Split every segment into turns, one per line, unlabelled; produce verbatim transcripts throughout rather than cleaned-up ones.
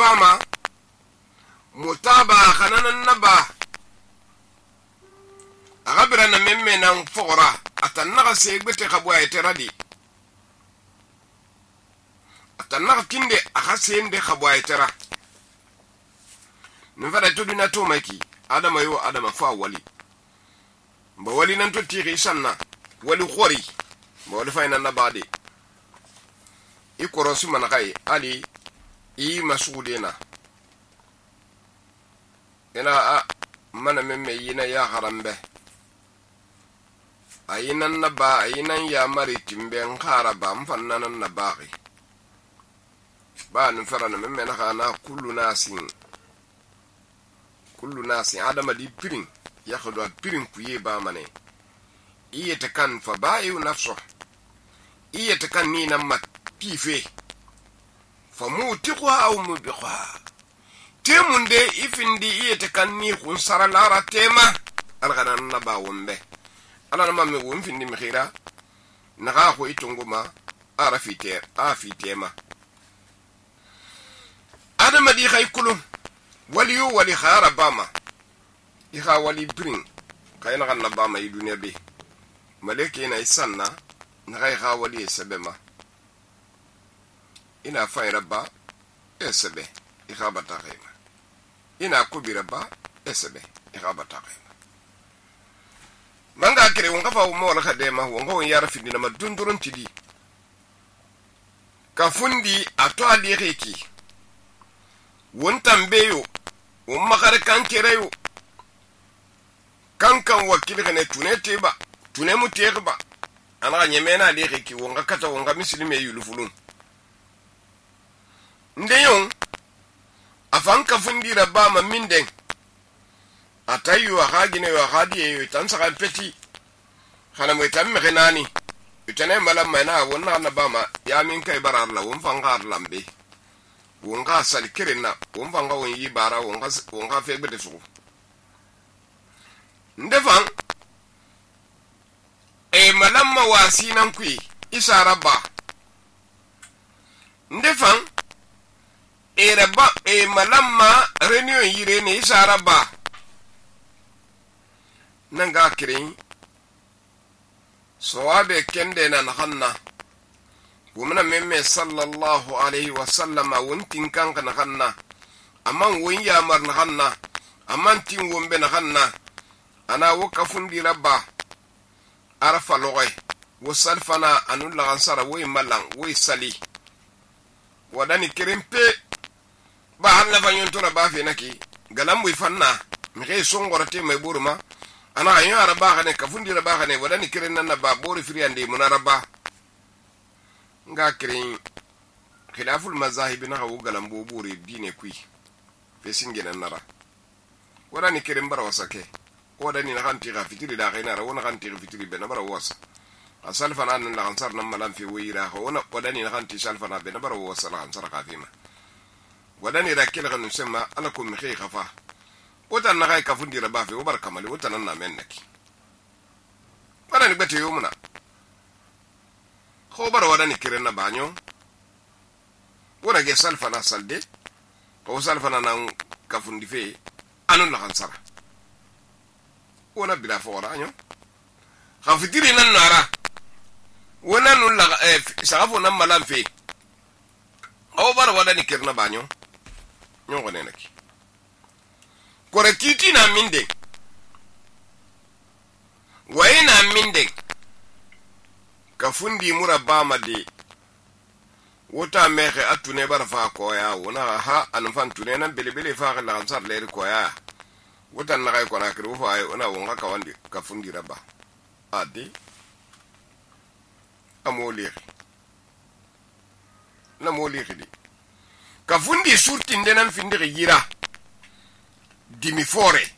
bama mutaba khananan naba agabira na memme nan fora atannaga segbete khabwa eteradi atannaga kinde aga sende khabwa etera nfara tuduna to maki adama yo adama fa wali ba wali nan to tiri sanna wali khori ba wali fa nan nabade ikoro su manakai ali i masudena ina a mana memme yina ya harambe ayinan naba ayinan ya mari timbe nkara ba mfannan nabari ba nfara na memme na kana kullu nasin kullu nasin adama di pirin ya khadwa pirin kuye ba mane iye takan fa bayu nafsu iye takan ni nan mat pife fa mutiqwa aw mubiqa temunde ifindi iye takan ni khun sara lara tema alghanan naba wombe ala na mamme won findi mi khira naga ko itunguma ara fite a fitema adama di khaykulu wali yu wali khara bama ikha wali bring kayna kan bama yi duniya be maleke na isanna naga kha wali sebema ina fa rabba esebe ikha bataqema ina kubira ba esebe ikha bataqema manga kire wonga fa mo wala khadema wonga won yara findi na madundurun tidi ka fundi ato ali reki won tambeyo won makare kan kireyo kan kan wakili kane tunete ba tune mu ba ana nyemena ali reki wonga kata wonga muslime yulufulun ndeyon afan ka fundi rabba ma minden atayu wa hagine wa hadiye tan saka peti khana mo tam mekhnani utane malam mana wonna na bama ya min kai barar la won fangar lambe won ga sal kirina won fanga won yi bara won ga won ga fe gbede su ndefan e malam ma wasinan kui isa rabba ndefan e rabba e malam ma reunion yire ne isa rabba nanga kirin sawabe kende na nahanna wumna memme sallallahu alaihi wasallam wuntin kanka nahanna amman wun ya mar nahanna amman tin wumbe nahanna ana wakafun di rabba arafa loy wasalfana anul lansara way malan way sali wadani kirin pe ba hanna fanyon tora ba fe naki galam wi fanna mi kay songorate may buruma ana ayo araba khane kafundi raba khane wadani kiren nan ba bori friande munaraba nga kiren khilaful mazahib na hawo galam bo bori dine kui fesinge nan nara wadani kiren bara wasake wadani na kanti ga fitiri da khina ra wona kanti fitiri be na bara wasa asal fana nan la ansar nan malam fi wira ho wona wadani na kanti sal fana be na bara wasa la ansar khafima wadani rakil khanu sema alakum mikhi khafa wata na kai kafun dira ba fe ubar kamali wata nan na men naki wala ni bete yumuna ko bar wala ni kiren na banyo wala ge salfa na salde ko salfa na nan kafun di fe anun la kansara wala bila fora nyo khafitiri nan nara wala nun la eh safu nan malam fe ko bar wala ni kirna banyo nyo ko ne naki kore kiti na minde waye na minde ka fundi murabba made wota mexe atune barfa ko ya wona ha an fan tune nan belebele fa la ansar leer ko ya wota na kay ko na kru fa ay ona wonga ka wandi ka fundi rabba adi amoli na moli khidi ka fundi surti ndenan findi yira dimi fore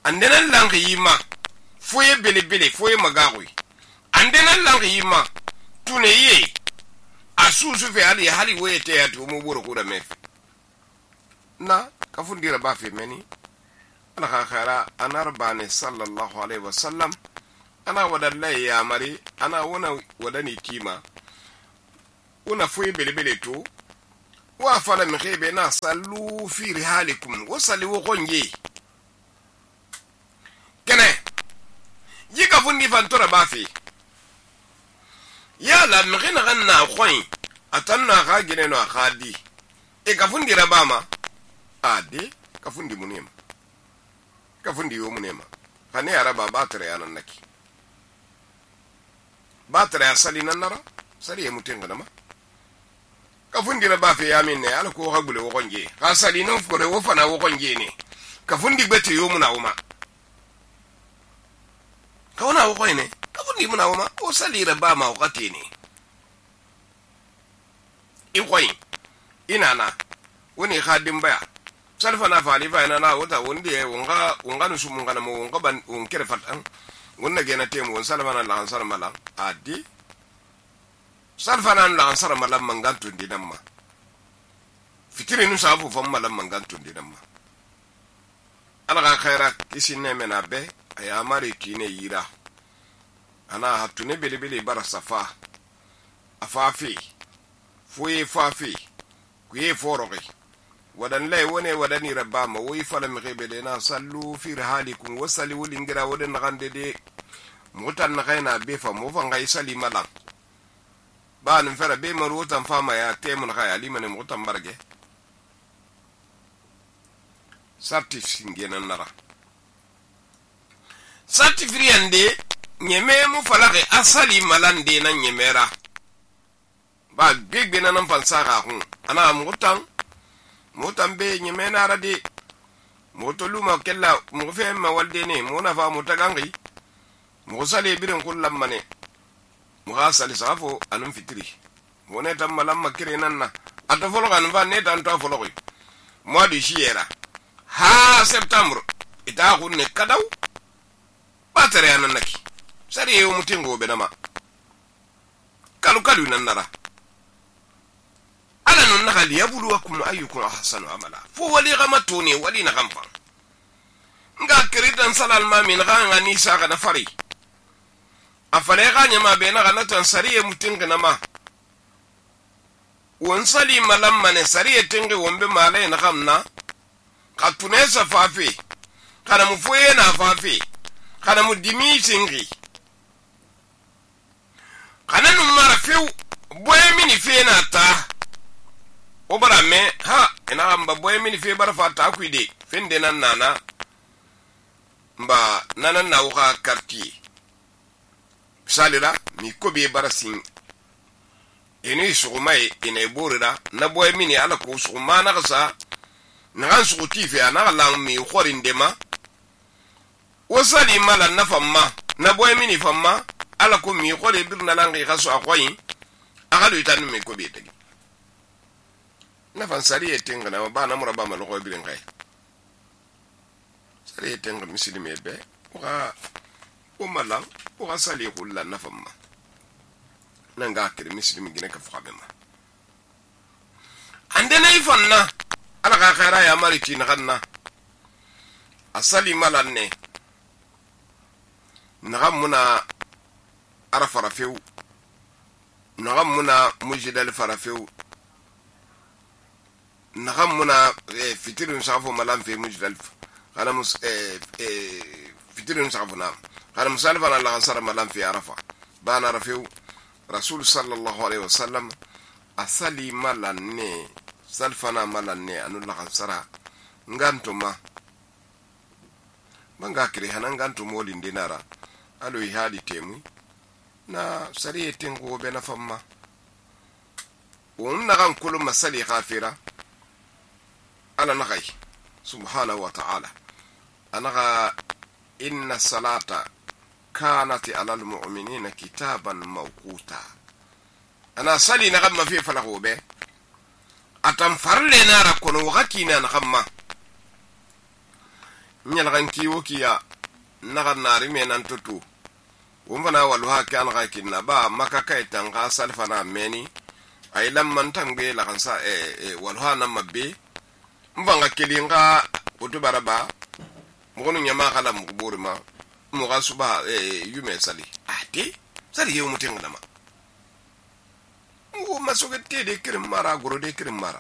andenan lang yima foye bele bele foye magawi andenan lang yima tune ye asusu fe ali hali wete ya tu mu buru kuda mef na kafundira ba fe meni ala khara anarbani sallallahu alaihi wasallam ana wadallai ya mari ana wona wadani kima una foye bele bele to wa fala mi khebe na sallu fi rihalikum wa sali wo konje kene yiga fundi fantora bafi ya la mi khina ganna khoy atanna kha gine no khadi e ka fundi rabama ade ka fundi munema ka fundi yo munema kane araba batre yanan naki batre asali nan nara sari e mutenga nama ka fundi rabafi ya minne ala ko hagule wo konje ka sali no fore wo fana wo konje ne ka fundi bete yo muna uma ka wana wo koyne ka fundi muna uma o sali rabama o katini i koy inana woni khadim baya salfa na fali fa ina na wota wondi e wonga wonga no sumu ngana mo wonga ban on kere fatan wonna gena temu won salfa na la ansar mala adi salfa na la ansar mala mangantu ndinamma fitiri nu safu fam mala mangantu ndinamma ala ga khaira kisine mena be aya mari kine yira ana hatune bele bele bara safa afafi fuye fafi kuye forogi wadan lay wone wadani rabama woy fala mi khebele na sallu fi rihalikum wasali wulingira wadan gande de mutan na khayna be fa mo fa ngay sali malam ba nan fara be maru tan fama ya temun khaya limane mutan barge sartif singena nara sartif riande nyeme mu falake asali malande nan nyemera ba big bena nan fansaka hun ana mutan mutan be nyemena rade motoluma kella mu fe ma walde ne mu na fa mutagangi mu sale birin kullam mane mu gasali safo anun fitri mu ne tam malam makire nan na ata folo kan fa ne tan to folo ko mois de juillet ha septembre ita kunne kadaw batare anan naki sari yo mutingo be dama kalu kalu nan nara ala nun nagali yabluwakum ayyukum ahsanu amala fo wali gamatuni wali na gamfa nga kiritan salal ma min ganga ni saka na fari afale ganya ma be na gana tan sariye mutinga na ma won sali malam mane sariye tinga wombe male na gamna katune sa fafi kana mu foye na fafi kana mu dimi singi kana nu mara few boye mini fe na ta obara me ha ina amba boye mini fe bara fata kuide fende nan nana mba nanan na wuka quartier salira mi kobe bara sin ene sugumai ene borira na boye mini ala ko suguma na kasa na kan suguti fe ana la mi khorin dema wasali mala na famma na boye mini famma ala ko mi khore birna langi kaso akoyi akalu itanu me kobe tagi na fan sari etenga na ba na muraba ma lokoy birin kay sari etenga muslime be wa o malam o sali kullu na famma nanga kire muslimi gine ka fabe ma ande nay fanna ala ka khaira ya mariti na ganna asali malanne nagamuna arafa rafew nagamuna mujdal farafew nagamuna fitirun safo malam fe mujdal kana mus fitirun safo na kana musalfa na la sara malam fi arafa bana rafew rasul sallallahu alaihi wasallam asali malanne salfana malanne anulla sara ngantuma manga kire hanan gantu molin dinara alo ihadi temu na sari tengo be na famma wonna kan kullu masali khafira ala nagai subhanahu wa ta'ala anaga inna salata kanat ala almu'minina kitaban mawquta ana sali na gamma fi falahu be atam farle na ra kono wakati na gamma nyal ganki wokiya naga nari menan tutu wumfana waluha kan ga kinna ba maka kai tanga salfana meni ay lamman tangbe la kansa e waluha na mabbe mvanga kelinga utubaraba mugonu nyama kala muburima muga suba e yume sali ati sali yewu mutenga dama ngo masogete de kirim mara goro de kirim mara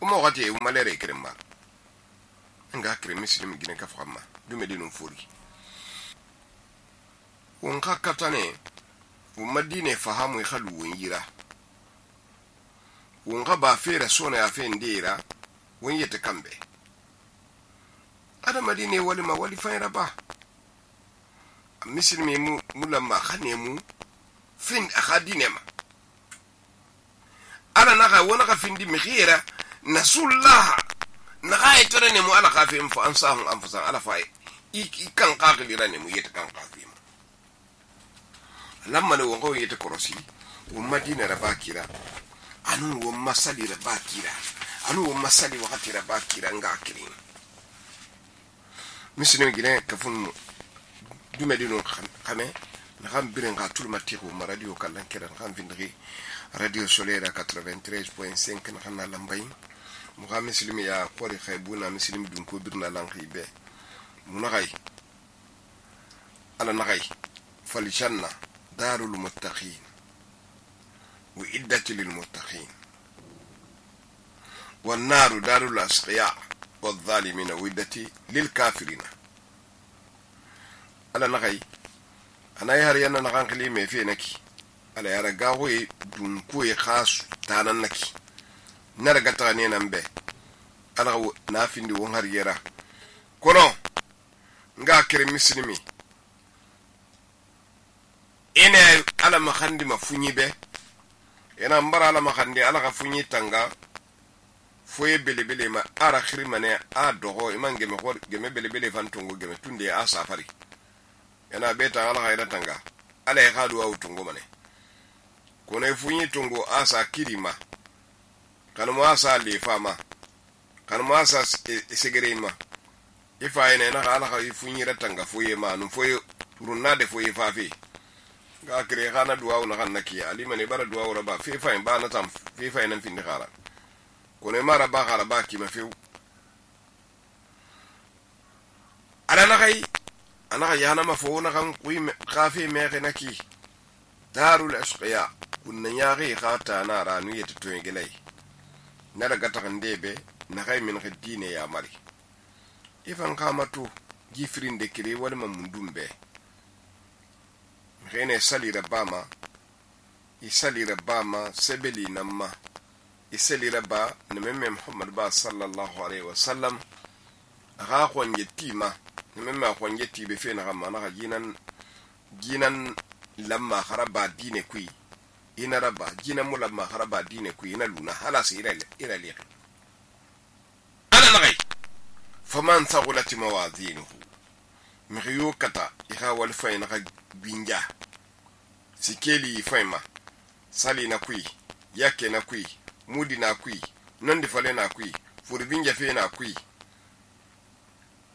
uma wakati uma lere kirin mar nga kirin muslim gine ka famma dume dinun furi won ka katane uma dine fahamu khalu won yira won ka ba fere sona ya fe ndira won yete kambe ada madine wali ma wali fayra ba muslimi mu mulamma khanemu fin akhadine ma ala naga wona ka findi mikhira nasullah naga itare ne mu ala khafim fa ansahum anfusan ala fa ikan qaqili rane mu yete kan qafim lamma ne wongo yete korosi wo madina rabakira anu wo masali rabakira anu wo masali wakati rabakira ngakiri misine gine kafun dume dinu khame na xam biren ga tul matiku ma radio kallan kiran xam vindri radio solaire quatre-vingt-treize point cinq na xana lambay mu ga muslim ya qori khaybuna muslim dun ko birna lan khibe mu na gay ala na gay fal janna darul muttaqin wa iddatu lil muttaqin wan naru darul asqiya wal zalimin wa iddati lil kafirin ala na gay ana har yana na kankali me fe naki ala yara gawe dun ko e khas tanan naki na daga ta ne nan be ala na findi won har yara kono nga kire muslimi ene ala makhandi mafunyi be ena mbara ala makhandi ala ka funyi tanga foye belebele ma ara khrimane a dogo imange me hor geme belebele fantungo geme tunde a safari yana beta ala hayda tanga ala ya khadu au tungo mane kone funyi tungo asa kirima kan mo asa le fama kan mo asa segerema ifa ene na ala ha funyi ratanga foye ma nu foye runna de foye fafi ga kire khana duwa na kan naki ali mane bara duwa raba fe fa ba na tam fe fa nan fin khara kone mara ba khara ba ki ma fe ala na kai ana yana mafuna kan kui khafi me naki darul ashqiya kunna yari khata na ranu yete to ngelai na daga ta kandebe na kai min khidine ya mari ifan kamatu gifrin de kire wal mamundumbe rene sali rabama isali rabama sebeli namma isali rabba na memme muhammad ba sallallahu alaihi wasallam aga khon yetima memma khonje tibe fe na gamma na jinan jinan lamma kharaba dine kui ina raba jinan mulamma kharaba dine kui ina luna hala sira ila li ana ngai faman thaqulat mawazinuhu miyo kata iha wal fayna ga binja sikeli fayma sali na kui yake na kui mudi na kui nondi fale na kui furi binja fe na kui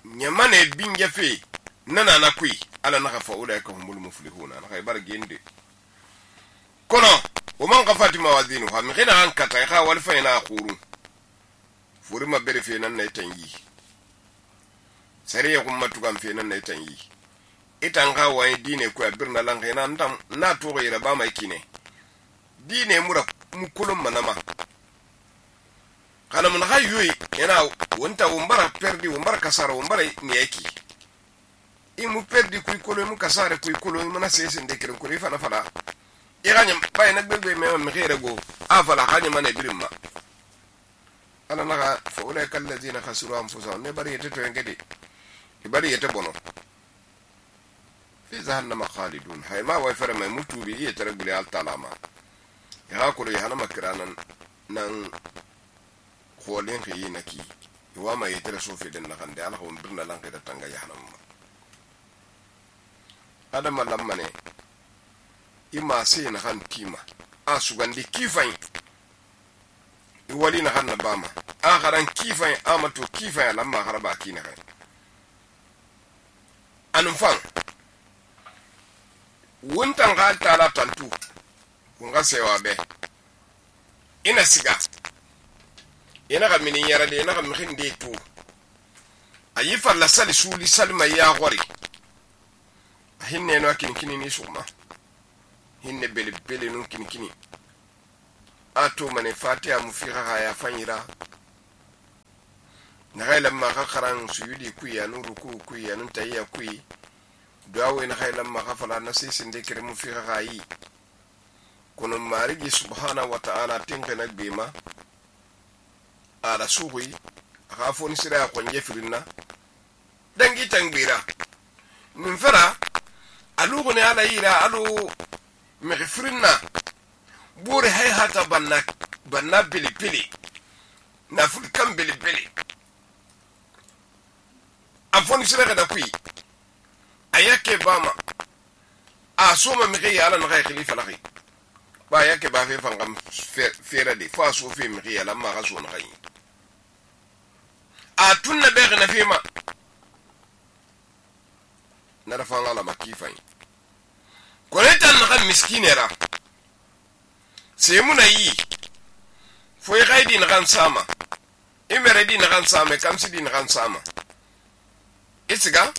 nyamane binja fe nana na kui ala na fa ula ka humul muflihuna na khaybar gende kono o man qafati mawadinu ha mi khina an kata kha wal fayna khuru furi ma bere fe nan nay tanyi sariya kuma tukan fe nan nay tanyi itan ga wai dine ku abirna lan khina ndam na to gira ba mai kine dine mura mu kulum manama kana mun hayyui yana wonta wombara perdi wombara kasara wombara ni yake imu perdi ku ikolo mu kasara ku ikolo mu na sese ndekere ku rifa na fala iranya bay na gbegbe me me xere go afala xanya mane birimma ala naga fa ulai kallazina khasiru anfusahum ne bari yete to ngedi bari yete bono fi jahannama khalidun hay ma wa fara mai mutubi yete rabbil altalama ya ko ri hana makranan nan kholen khiyi naki wa ma yete sofi den na khande ala ko birna lan da tanga yahnam adama lamane ima sai na han kima a sugandi kifai iwali na han na bama a garan kifai amato kifai lamma haraba kina kan anfan wuntan ga tala tantu kun ga sewa be ina siga ina ga minin yara de ina ga mihin de to ayi falla sali suli salma ya gori hinne no kin kini ni suma hinne bele bele nun kini kini ato mane fatiha mu fi ha ya fanyira na khayla ma khakharan suyudi kuyi anu ruku kuyi anu tayya kuyi duawe na khayla ma khafala na sisinde kiremu fi khayi kono marigi subhanahu wa ta'ala tinkana bima ala suwi khafoni sira ko njefirina dangi tangbira min fara alugo ne ala yira alu mghfirina buri hay hata banna banna bili bili na fulkan bili bili afoni sira da kui ayake bama asoma migi ala na khalifa lahi ba yake ba fe fangam fera de fa so fe migi ala ma gaso na kai a tunna be na fe ma na da fanga la makifai ko ne tan na miskinera sai muna yi foi gaidi na kan sama imere di na kan sama kamsi di na kan sama itiga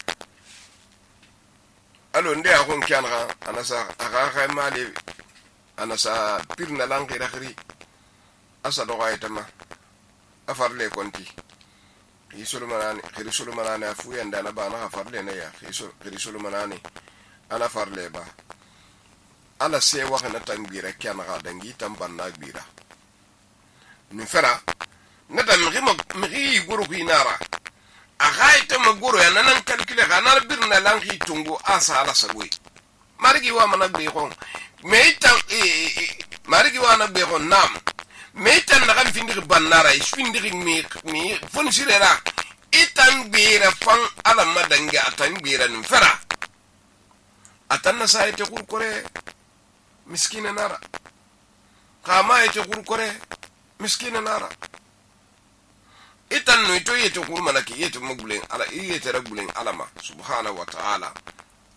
alo nde a kon kyanra anasa aga ga mali anasa pirna langi rakhri asa do gaitama afarle konti hisulu manani khirisulu manani afu yanda na bana afarle ne ya khirisulu manani ana farle ba ala se waxana tangbira kyanra dangi tambanna gbira ni fera nata migi migi guru kinara agaita maguru ya nanan kalkile kana birna langi tungu asa ala sagwe marigi wa mana be gon meita marigi wa na be gon nam meita na kan findiri bannara isfindiri mi mi fon sirera itan bira fan ala madanga atan bira nin fera atanna saite kurkore miskina nara kama ite kurkore miskina nara itan no ito yete kurma na ki yete magulen ala yete ragulen alama subhanahu wa ta'ala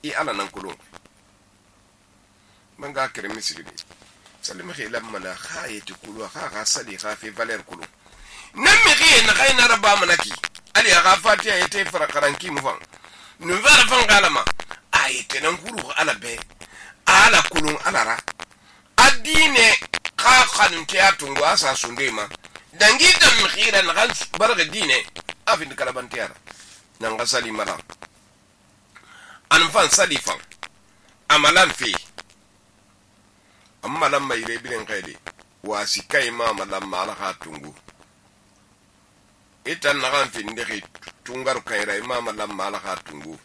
i ala nan kulun manga kire misiri salima khila mana khayete kulu kha kha sali kha fi valer kulu nan mi khiye na khayna rabba manaki ali kha fatiha yete fara karanki mu fan nu vara fan galama ayete nan kulu ala be ala kulun ala ra adine kha khanun tiatungu asa sundema dangi tam khira na gal barga dine afin kalabantiara nan ga salimara an fan salifan amalan fi amma lam mai rebirin kaide wasi kai ma malam mala hatungu itan na kan fin de tungar kai rai ma malam mala hatungu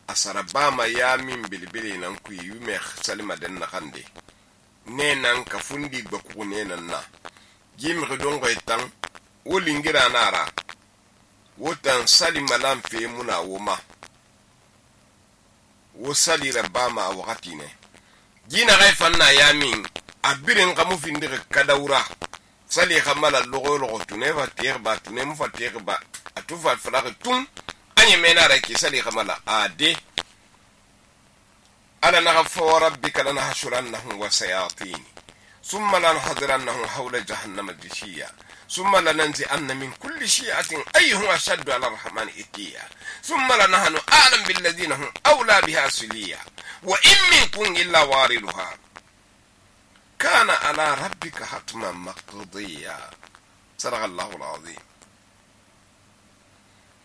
asara ba ma ya min bilbili nan ku yi me salima den na kande ne nan ka fundi ba ku ne nan na jim redon ko tan wolingira nara wotan salima lam fe muna woma wo salira ba ma wakati ne jina gai fanna yamin abirin kamu findire kadawra sali khamala logo logo tune va terba tune mu fa terba atufa falaka tun anye mena raki sali khamala ade ala naghfa rabbika lanahshurannahum wa sayatin thumma lanahdirannahum hawla jahannama jishiya thumma lananzi'anna min kulli shi'atin ayyuhum ashaddu 'ala ar-rahmani itiya thumma lanahnu a'lam bil ladina hum awla biha suliya wa in minkum illa wariduha kana ala rabbika hatman maqdiya sadaqallahu alazim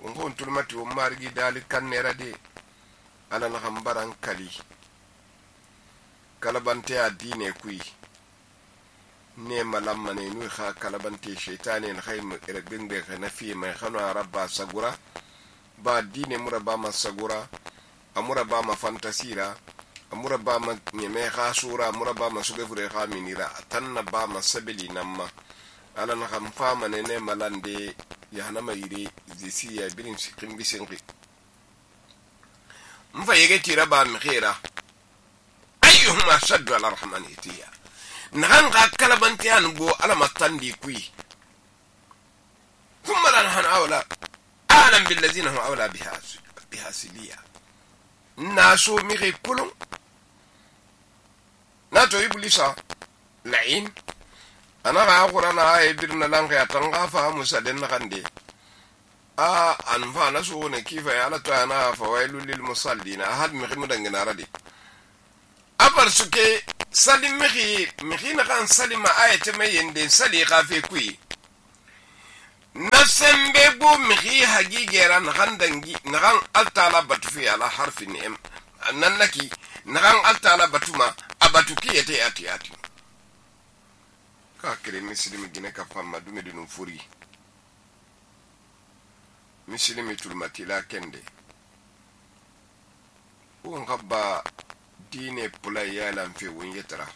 won tulmati o margi dalikan nerade ala na hambaran kali kalabante adine kui ne malamma ne nu kha kalabante shaytane na khaym irbin be khana fi mai khana rabba sagura ba dine muraba masagura amura ba ma fantasira amura ba ma nyeme khasura amura ba ma sugefure khaminira tanna ba ma sabili namma ala na kham fama ne ne malande ya hanama yiri zisiya birin sikin bisinri mfa yege tira ba mi khira ayyuhum ashaddu ala rahmani itiya nan ga kalabanti an go ala matandi kui thumma lan han awla alam bil ladina hum awla biha biha siliya naso mi re kulun nato iblisa la'in ana ga qur'ana ay dirna lan ga tanga fa musa den nakande a an fa naso ne kifa ya la ta na fa wailul lil musallin ahad mi khimu dangana radi abar suke salim mi mi khina kan salima ayate me yende sali khafe kui nasembe gbo mixi hagigera naxan dangi naxan altala batu fi ala harfi ni'am nan naki naxan altala batuma abatu ki yete ati ati ka kire mislimi gine ka famma dume dinu furi mislimi tulmatila kende on gabba dine pula yalan fe won yetara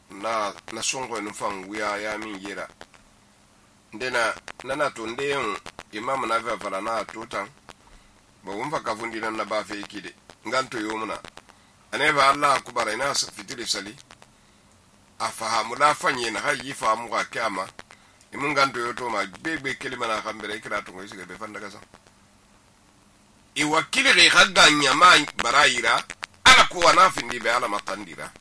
na na songo no fan wiya ya min yera ndena nana to ndeyon imam na fa fara na tutan ba won fa kafundi nan na ba fe ikide nganto yomuna ane ba Allah kubara ina fitiri sali afahamu la fanye na hayi fahamu ka kama imun nganto yoto ma bebe kelima na khambere kira to ngoyi siga be fanda kasa i wakili re khaganya ma barayira ala ko wana findi be ala matandira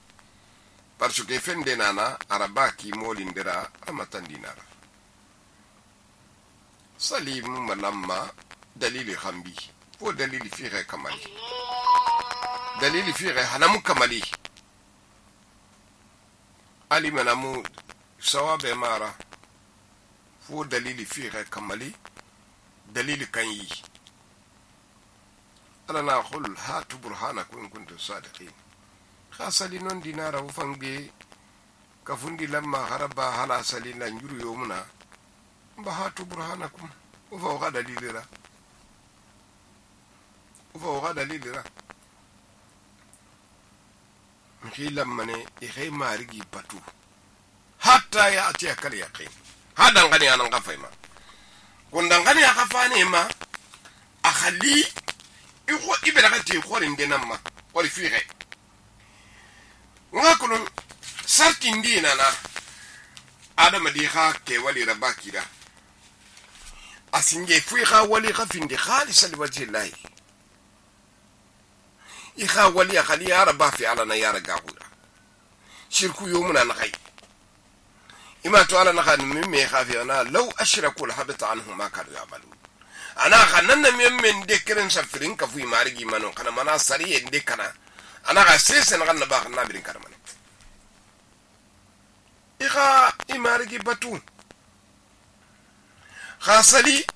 parce que fende nana arabaki molindira amatandinara salimu malamma dalili khambi fo dalili fiire kamali dalili fiire hanamu kamali ali manamu sawabe mara fo dalili fiire kamali dalili kanyi ala na khul hatu burhanakum in kuntum sadiqin khasali non dinara ufangbe kafundi lamma haraba hala salina njuru yomuna mba hatu burhanakum ufa waga dalilira ufa waga dalilira mkhila mane ikhay marigi batu hatta ya ati akal yaqin hadan gani anan gafaima kundan gani akafane ma akhali iko ibera kati khorin denamma ori fiire ngakulun sartin dina na adama di kha ke wali rabakira asinge fui kha wali khafindi khalis liwajhi llahi ikha wali khali araba fi alana ya ragahula shirku yomuna na khay ima to ala na khan mimme khafi ana law ashraku alhabata anhum ma kanu ya'malun ana khanna mimme dekren safirin ka fui marigi mano kana mana sariye dekana ana ga sesen ganna ba na birin karmane ikha imarigi batu khasali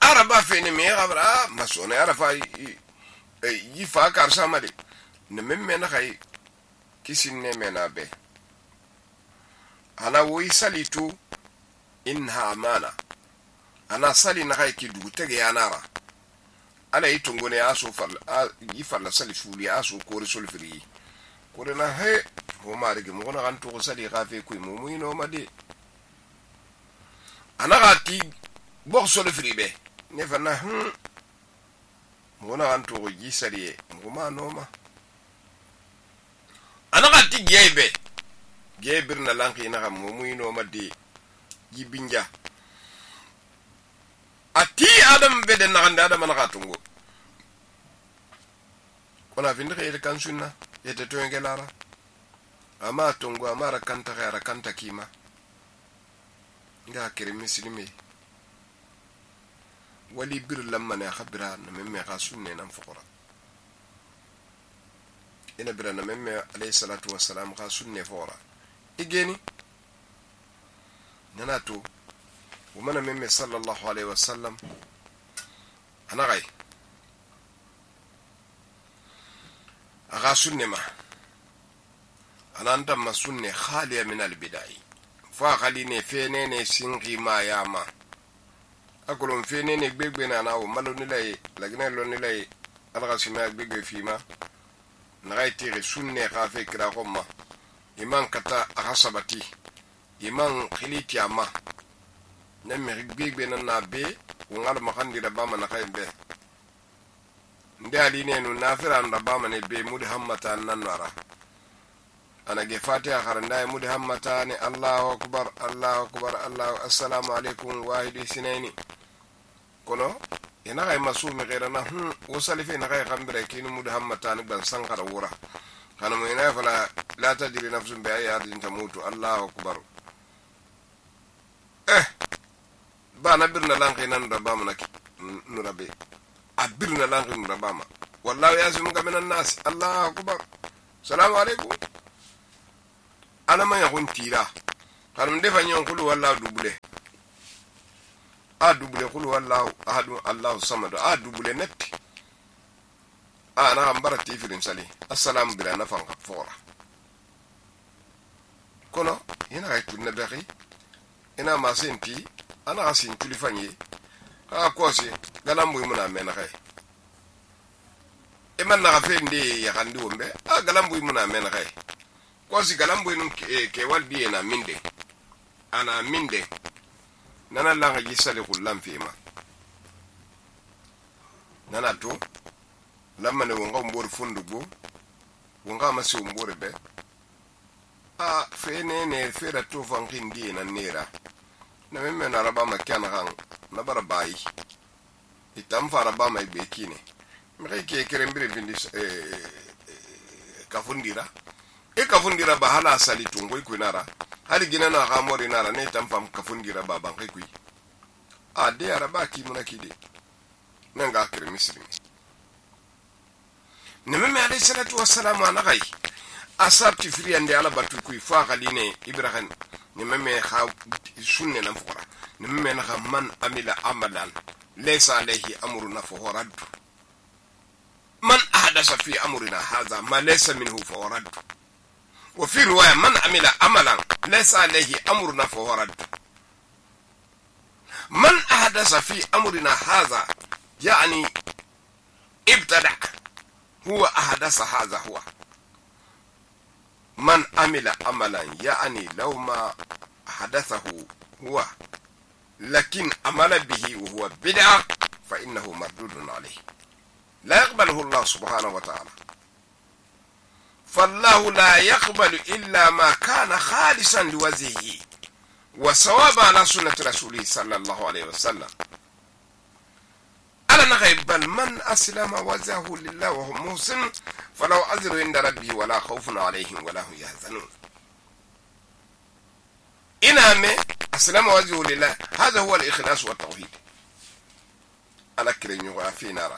araba fene me gabra masone arafa yi fa kar samade ne memme na khay kisin ne mena be ana wo isalitu inha amana ana sali na khay ki du tege anara ala itungone aso fal yi fal sali fuli aso ko resul firi ko na he ho marigi mo na kan to sali gafe ku mo mu ino made ana gati bo sol firi be ne fana hm mo na kan to yi sali mo ma no ma ana gati gebe gebir na lanki na mo mu ino made yibinja ati adam bede na handa adam na katungo kona vinde khayre kan sunna yete to ngelara ama tungo amara kanta khayra kanta kima nga kire muslimi wali bir lamma na khabira na memme kha sunne nan fuqara ina bira na memme alayhi salatu wassalam kha sunne fora igeni nanato ومن ممن صلى الله عليه وسلم أنا غاي أغا سنة ما أنا عندما سنة خالية من البداية فاخليني فينيني سنغي ما ياما أقولون فينيني بيك بينا أنا ومالو نلاي لكن لو نلاي ألغا سماك بيك فيما نغاي تيغي سنة غافي كرا غمّا إمان كتا أغصبتي إمان خليتي أما nemme gbegbe na na be ngal makandi da bama na kaybe ndali ne no nafira nda bama ne be mudi hammata nan wara ana ge fatiha kharanda mudi hammata ne Allahu akbar Allahu akbar Allahu assalamu alaikum wahidi sinaini kono ina ga masumi gairana hm wasalife na ga khambire kinu mudi hammata ne ban sankara wura kana mo ina fala la tadri nafsun bi ayatin tamutu Allahu akbar eh bana birna lanki nan da bama naki nurabe abirna lanki nurabama wallahi yasimuka minan nas Allahu akbar salamu alaikum ana ma yakun tira kanum defa nyon kulu wallahi dubule a dubule qul huwallahu ahad allahu samad a dubule netti a na ambara tifirin sali assalamu bila nafan fora kono ina ay tunna daxi ina ma senti ana asin tulifanye a kosi galambu muna mena kay e man na fe ndi ya kandi wombe a galambu muna mena kay kosi galambu nun ke waldi na minde ana minde nana langa gisale kullam fima nana to lamma ne wonga mbor fundugo wonga masi mbor be a fene ne fera to fankin di na nera na memme na raba makana kan na barabai itam fara ba mai bekine mi ke kerembire vindis e kafundira e kafundira ba hala sali tungo ikunara hali gina na gamori nara ne tam fam kafundira ba ban kai kui a de araba ki munakide nanga kire misri ne memme alayhi salatu wassalamu ana gai asabti friyande ala batu kuy fa khaline ibrahim ne meme kha sunne nan fora ne meme na man amila amalan laysa alayhi amruna fa horad man ahdasa fi amrina hadha ma laysa minhu fa horad wa fi riwaya man amila amalan laysa alayhi amruna fa horad man ahdasa fi amrina hadha yani ibtada huwa ahdasa hadha huwa من عمل عملا يعني لو ما حدثه هو لكن عمل به وهو بدعة فإنه مردود عليه لا يقبله الله سبحانه وتعالى فالله لا يقبل إلا ما كان خالصا لوجهه وصواب على سنة رسوله صلى الله عليه وسلم ألا نغيب بل من أسلم وجهه لله وهو محسن فلو أجر عند ربه ولا خوف عليهم ولا هم يحزنون إنما أسلم وجهه لله هذا هو الإخلاص والتوحيد أنا كريم يغافي نارا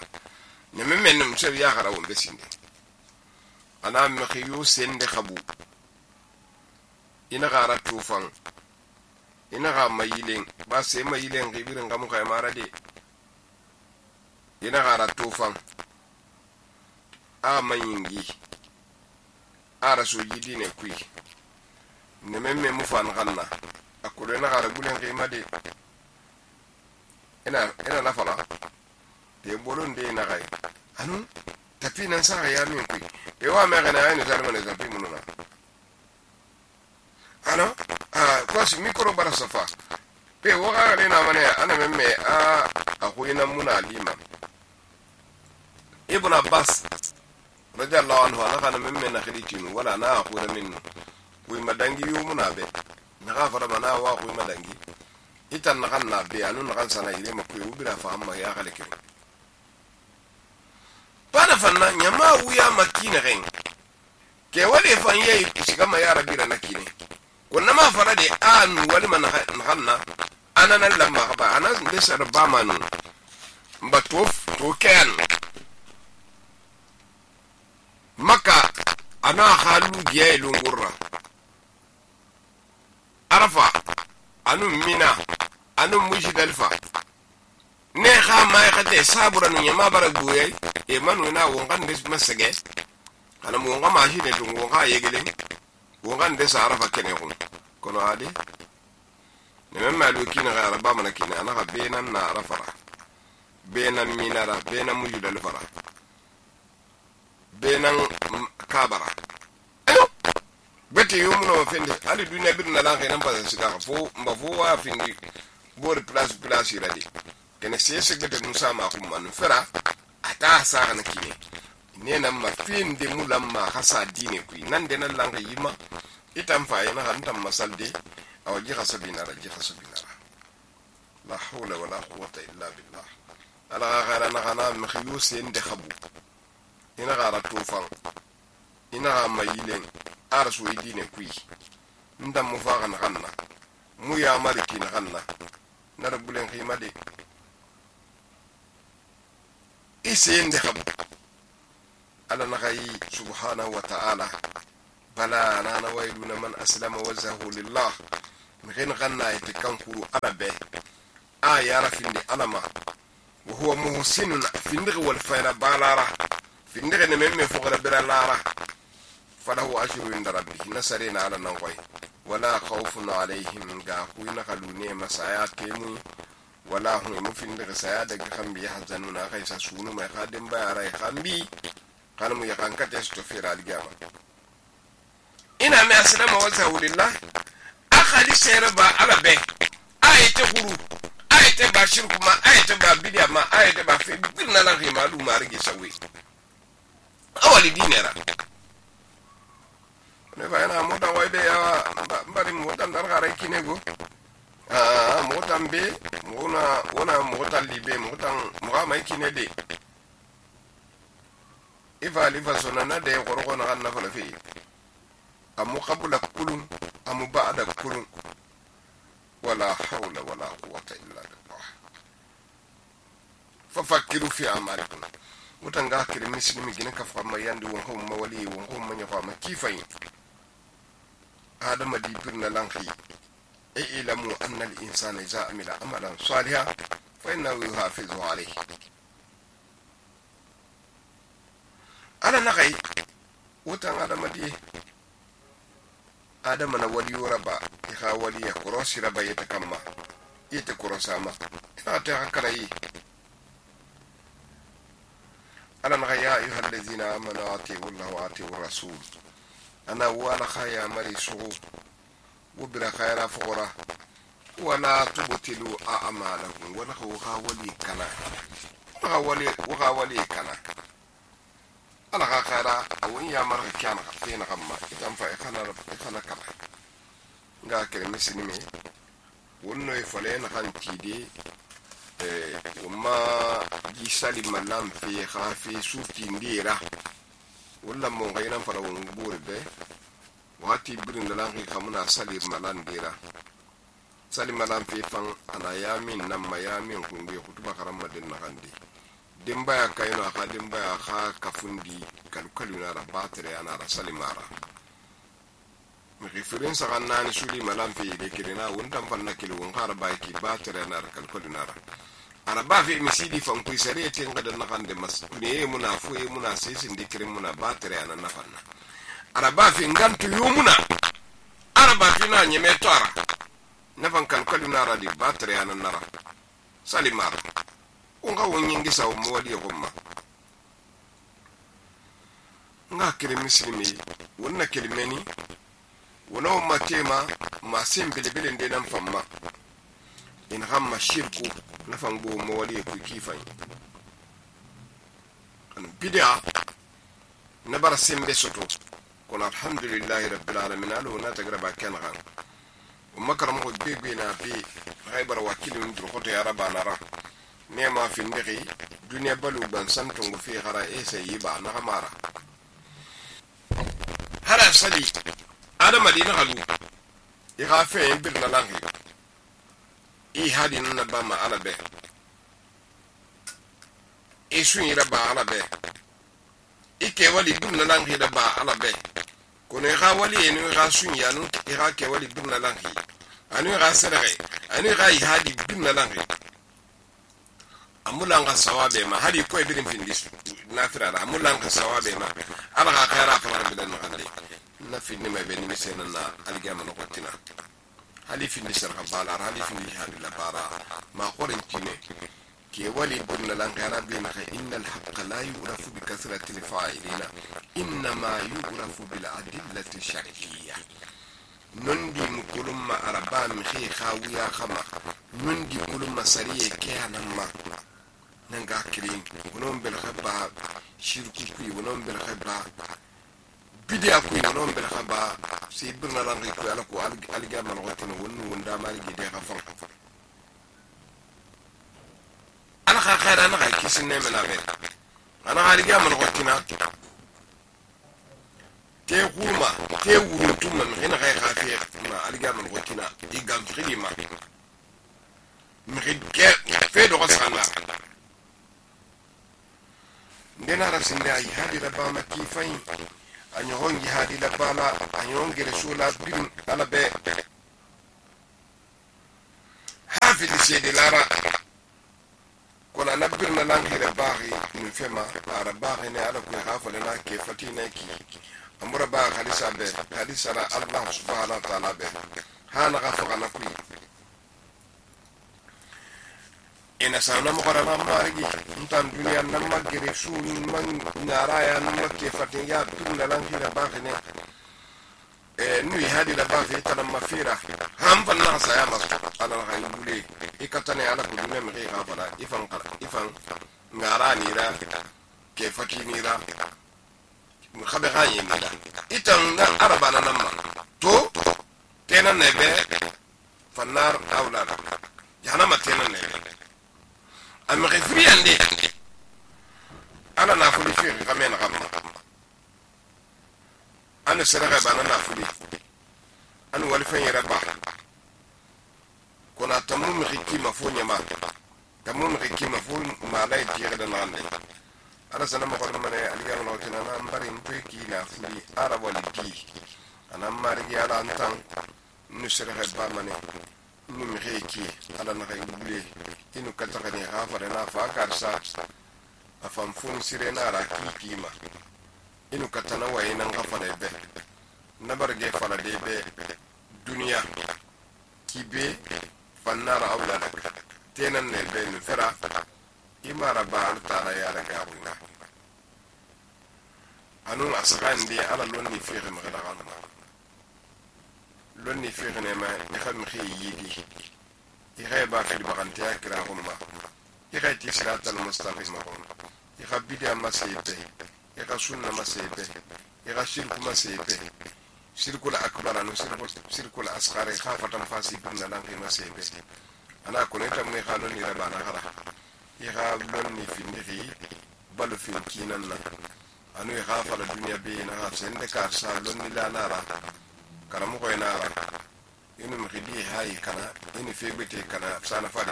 نمم من نمسوي يا غراون بسين أنا مخيو سند خبو إن غارة توفان إن غا ميلين بس ميلين غيبين غمو خيمارا دي ina gara tofan a manyingi a raso yidi ne kui ne memme mu fan ganna akure na gara gulen kima de ina ina na fala de bolon de na gai anu tapi nan sa ya min kui e wa me gana ay ne zarma ne tapi mununa ano a kwasi mikro bara safa pe wa ga na mane ana memme a akuina muna lima ابن عباس رضي الله عنه انا كان ممن نخريتين ولا انا اقول منه وي مدانغي يومنا به نغافر منا واخوي مدانغي itan nakanna be anu nakan sana ile makwe ubira fa amma ya kale kire bana fanna nyama uya makina ren ke wale fan yayi shiga ma ya rabira nakine kunna ma fara de an wali man nakanna ana nan lamma ba ana ndesa ba manu mbatof to ken maka ana halu giya ilungurra arafa anu mina anu mujdalifa ne kha ma khade sabura nu nyama baraguye e manu na wongan des masage ana mo nga ma hine to wonga yegele wongan des arafa kene ko kono ade ne memma lu kina ga araba mana kina ana ga benan na arafara benan minara benan mujdalifa benan kabara ayo bete yumuno fende ali dunya birna la kay nan pa sika fo mba fo wa findi bor place place radi kene sese gete musa ma ko man fera ata sa na kine ne nan ma finde mulamma hasa dine ku nan de nan langa yima itam fa yana han tam masalde aw ji khasabina ra ji khasabina la hawla wala quwwata illa billah ala ghara na khana mkhiyus inde khabu ina gara tofan ina ga mayilen arsu idine kui ndam mu fa kan kanna mu ya mariki na kanna na rabulen khimade ise inde khab ala na gai subhanahu wa ta'ala bala ana na wayluna man aslama wajhahu lillah min khin kanna ite kankuru arabe aya rafindi alama wa huwa muhsinun findig wal fayna balara findig ne memme fogara bira lara falahu ajru inda rabbih nasarina ala nan koy wala khawfun alayhim ga kuyna kalune masaya temu wala hum mufindig saya daga khambi yahzanuna kaysa sunu mai khadim bayara khambi kana mu yakankata istofira aligama ina mai aslama wa zawlillah akhali serba alabe ayete huru ayete ba shirku ma ayete ba bidia ma ayete ba fe birna la rimalu marigi sawi awali dinera ne ba na mo dan waybe ya bari mo dan dar gare kinego ah mo tan be mo na wona mo tan libe mo tan mo ga mai kinede ifa lifa sonana de gorgo na na fala fi amu qabla kulun amu ba'da kulun wala hawla wala quwwata illa billah fafakkiru fi amalikum mutanga kire muslimi gina ka fama yandi won ko mawali won ko manya fama kifai adama di birna lanki e ilamu anna al insana iza amila amalan salihan fa innahu yuhafizu alayhi ala nakai wutan adama di adama na wali raba ya wali ya korosi raba yata kamma yata korosama ina ta hakara yi ala naga ya ayuha allazina amanu atiiu llaha wa atiiu rasul ana wala khaya mari sugu wubira khayra fuqura wala tubtilu a'malakum wala kha wali kana wala wali wala wali kana ala ka khayra awun ya mar kana fina kamma idan fa kana kana kama nga kere misinime wonno e fale na kan tide eh umma ji sali malam fi khafi suki ndira wala mo ngayna fara won burbe wati birin da lan kamuna sali malan dira sali malan fi fan ana yamin nan mayamin kunde kutuba karamma din na handi dimba ya kayno aka dimba ya kha kafundi kalkalu na rabatre ana rasali mara mi reference kan nani suli malam fi de kirina wontam fanna kilo won khara bayki batre na kalkalu na ara ba fi misidi fan ku sare te ngada na kande mas ne muna fu e muna sesin de kirin muna batre ana na fanna ara ba fi ngantu yumuna ara ba fi na nyeme tora na fan kalkalu na ra di batre ana nara salimara unga wonyingi sa umwali gomma nga kire muslimi wonna kelimeni wona umma tema ma sembele bele ndena mfamma in hamma shirku na fango mawali ku kifan an bid'a na bar sembe soto kono alhamdulillahi rabbil alamin alu na tagraba kan gan umma karam ko bebe na bi haybar wakilun dur khoto ya rabana ra nema fi ndiri dunya balu ban santungu fi khara esa yiba na kamara hara sali adama dina halu ya khafe bir na langi i hadin na bama alabe isu ira ba alabe ike wali bir na langi da ba alabe kono ga wali enu ga sun ya nu ira ke wali bir na langi anu ga sadare anu ga i hadi bir na langi amulanga sawabe ma hadi ko ibirin findis nafira amulanga sawabe ma ala ka khaira fa bidan no hadi na finni ma beni misena na aligama no kotina hali finni sar khabala hali finni hadi la bara ma qorin kine ke wali bunna lan khaira bi ma inna al haqq la yu'rafu bi kasrati al fa'ilina inna ma yu'rafu bil adillati shar'iyya nundi mukulumma araba mi khi khawiya khama nundi kulumma sariye kiyanan ma nanga kirin wonon bel khaba shirku ku wonon bel khaba bidia ku wonon bel khaba si birna lan ku ala ko alga man wotino wonu wonda mari gide khafan ana kha khaira na ka kisne mena be ana alga man wotina te huma te wuru tumma ina khay khafiya ma alga man wotina igam khidima mi khidke fe do khasana ndena rasinde ay hadi la bama kifain anyo hongi hadi la bala anyo hongi resula bin ala be fili sede lara kona na birna lankire baaxi nu fema ara baaxi ne ala ku xa fale na ke fatina ki amura ba hadisa be hadisa ra allah subhanahu wa ta'ala be hana ga fagana ku ina sana mo kora na marigi ntan duniya na magere su man naraya na makke fatin ya tunna lankire baaxi ne e nui hadi da baaxi tan mafira ham fan na sa ya mas ala ga yule ikatane ala ku dunya mi ga fara ifan qara ifan ngara ni ra ke fatini ra mu khabe ganye ni itan na araba na namma to tenan ne be fannar awlada jahannama tenan ne am ghifri ande ana na fuli fi gamen gamma ana saraga bana na fuli an walfan yaraba kona tamum hikima fo nyama tamum hikima fo malay tire da nande ala sana ma ko mane aliga no tina na mbari mpe ki na fuli ara wali ki ana mari ya ala antan nu sere ba mane nu mi hiki ala na kay bule inu kata kani hafare na fa karsa afam fun sire na ra ki kima inu kata na waye nan gafare be na barge fala de be duniya kibe fannar awladak tenan ne be nu fera imara ba altara ya daga abuna anu asran bi ala lonni fi magana lonni fi ne ma ni xam khiyidi i khayba fi bagante akra umma i khayti siratal mustaqim i khabidi amma saybe i khasunna masaybe i khashirku masaybe shirkul akbar anu shirkul asghar khafatan fasibun lan fi masaybe ana kuneta mun khanon ni rabana khara i khabon ni fi ndiri balu fi kinan na anu i khafala dunya be na ha sende kar sa lonni la nara karamu ko nara inu mkhidi hay kana inu febete kana sana fadi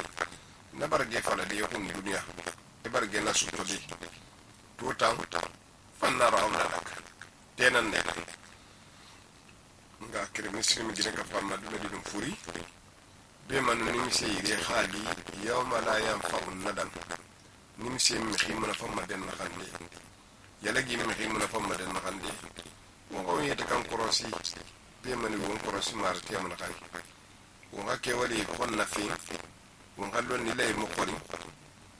na barge fala de yakun dunya e barge na sutodi to tan fanna ra'awlak tenan ne nga kire muslim gine ka famma dum di dum furi be man ni mi sey re khali yawma la yanfa'u nadam ni mi sey mi khimuna famma den na khandi yala gi mi khimuna famma den na khandi mo ko yete kan korosi be man won korosi marti amna kan wo ga ke wali kon na fi wo ngalon ni lay mo kori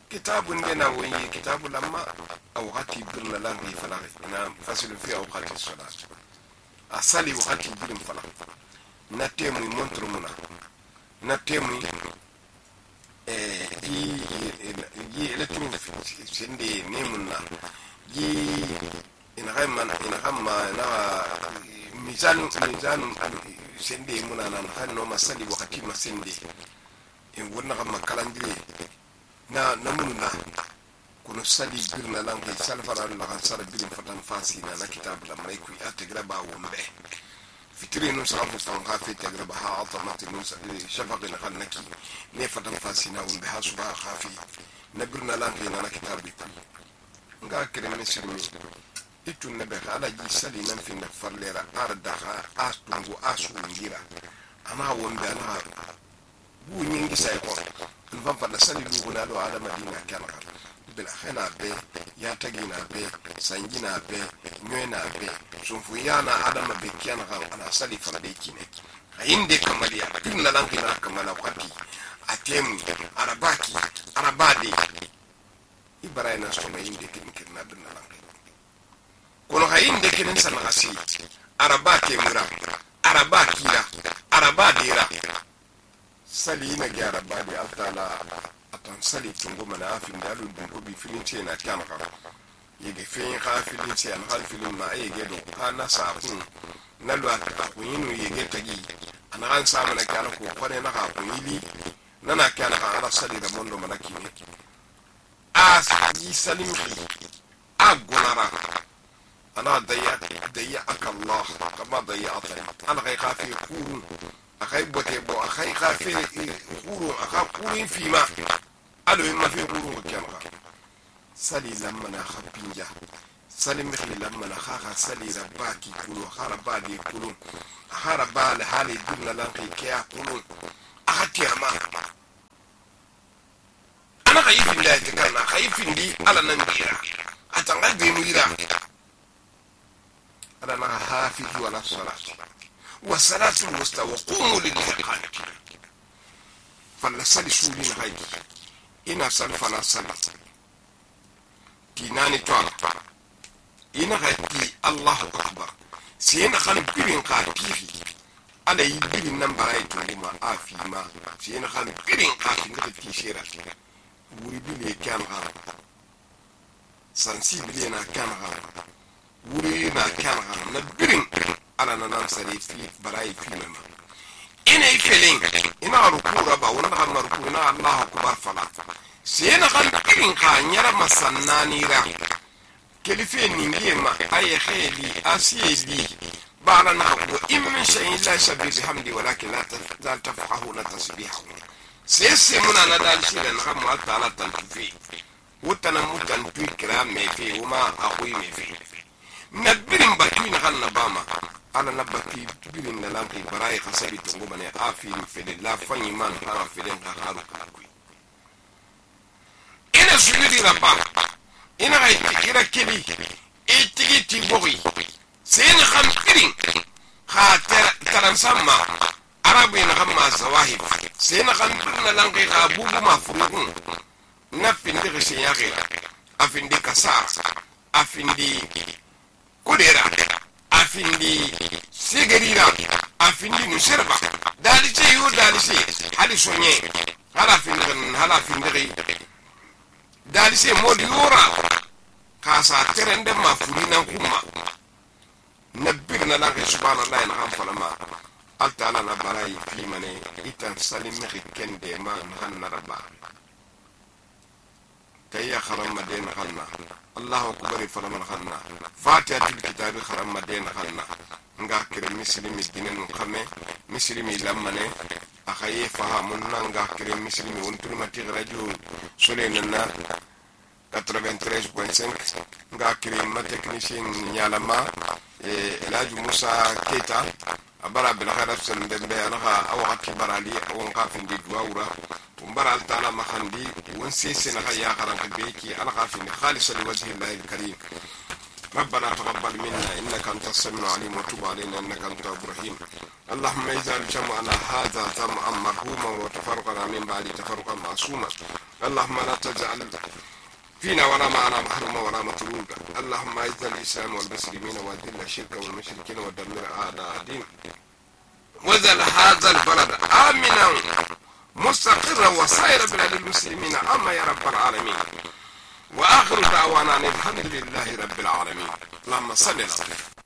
kitabun dena woyi kitabu lamma aw hati birna lan fi fala na fasil fi aw hati salat asali wakati bilim fala na temu montro muna na temu eh yi yi electronic sende nemunna yi ina hayman ina hamma na mizan mizan sende muna nan hanno masali wakati masende in wonna hamma kalandire na namunna kono sali birna lan kay salfara la kan sara bilim fatan fasina na kitab la may ku ategra ba wombe fitri no sabu tan ka fi tegra ba ha automat no sabi shafaq na kan naki ne fatan fasina wombe ha suba khafi na birna lan kay na kitab bi nga kire ne sirmi itun ne be ala ji sali nan fi na farlera arda ha astungu asu ngira ama wombe ana bu nyingi say ko nfa fa da sali lu na do ala madina kana bila khana be ya tagina be sangina be nyoena be sunfu yana adama be kiana ha ana sali fa de kine inde kamali ya tinna lan kina kamala kwati atem arabaki arabadi ibrahima so me inde kin kirna bin lan kono ha inde kin sana asi arabaki mura arabaki la arabadi ra sali na gyara badi altala atan sali tungo mana afin dalu dungo bi filin ce na kyan ka yege fen ka filin ce an hal filin ma yege do ana sa kun na lo ata kun yinu yege tagi ana an sa mana kyan ko kone na ka kun yili nana kyan ka ala sali da mondo mana kine a yi salim a gonara ana daya daya akallah kama daya atani ana kai ka fi kurun akai bote bo akai ka fi kurun aka kurun fi ma alo ma fi kurun kyamaka sali lamma na khabinja sali mkhli lamma na khaga sali rabaki kulu haraba di kulu haraba la hali dinna lan kai kya kulu akati ama khayfin da ta kana khayfin di ala nan bira atanga be muira ala na hafizu ala salati wa salatu musta wa qumu lillahi qanitin falla sali sulina haydi ina sal fala salat tinani to ina haydi Allahu akbar siyena khan birin qatifi ala yi birin nan barai to ma afi ma siyena khan birin qati ngati tishira wuri bile kan ha sensible na kan ha wuri na kan ha na birin ala na nan sare fi barai fi ma ina ifelin ina rukura ba wala kan rukura na Allahu akbar fala siyena khan birin ka nyara masannani ra kelife ningie ma aye kheli asiyeli bala na ko immin shay'in la shabi bihamdi walakin la tafqahuna tasbihahu sese muna na dal shidan ham wa ta'ala tanfi wutana mutan tukira me fe uma akhui me fe nabirin bakin hanna bama ala nabati birin na lampi barai khasabi tungo bane afi fe de la fanyi man ha fe den ka haru ka ina sujudi rabba ina ga kira kili itigi tibori sen khampirin kha taran samma arabu ina khamma zawahib sen khampirna langi ka bubu mafruqun nafindi gishin ya gira afindi kasar afindi kudera afindi sigarira afindi nusirba dalise yu dalise hali sonye hala findi hala findi dalise mod yura kasa terende ma furina kuma nabir na lange subhanallahi na ham falama altala na barai fi mane itan salim mi kende ma hanna rabba kayya kharam madina khanna Allahu akbar falama khanna fatihatul kitab kharam madina khanna nga kire muslimi dinen khame muslimi lamane akhaye fahamun nga kire muslimi wontul mati radio solenna quatre-vingt-treize point cinq nga kire ma technicien nyalama e elaju Musa Keita abara bil khairaf sallam dembe alaha awati barali won qafin di duwura umbara altala makhandi won sese na ya kharan kabeki ala qafin khalis li wajhi Allah al-karim ربنا تقبل منا إنك أنت السميع العليم وتب علينا إنك أنت التواب الرحيم اللهم اجعل جمعنا هذا جمعا مرحوما وتفرقنا من بعد تفرقا معصوما اللهم لا تجعل فينا ولا معنا محروما ولا مطرودا اللهم اعز الإسلام والمسلمين وأذل الشرك والمشركين ودمر أعداء الدين واجعل هذا البلد آمنا مستقرا وسائر بلاد المسلمين أما يا رب العالمين وآخر دعوانا الحمد لله رب العالمين اللهم صل على